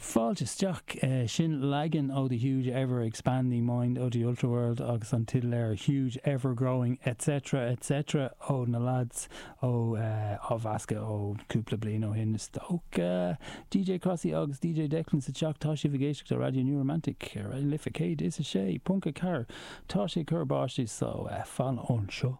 Fáilte isteach. Sin leagan ó The Huge Ever Expanding Mind of the Ultraworld agus an teideal air Huge Ever Growing Etc Etc ó na lads ó á mheascadh ó cúpla bliain ó shin is dócha. DJ Crossy agus DJ Declan sa teach. Tá sibh ag éisteacht le Raidió New Romantic ar Raidió na Life 106.4. Tá sé ag cur báistí so fan anseo.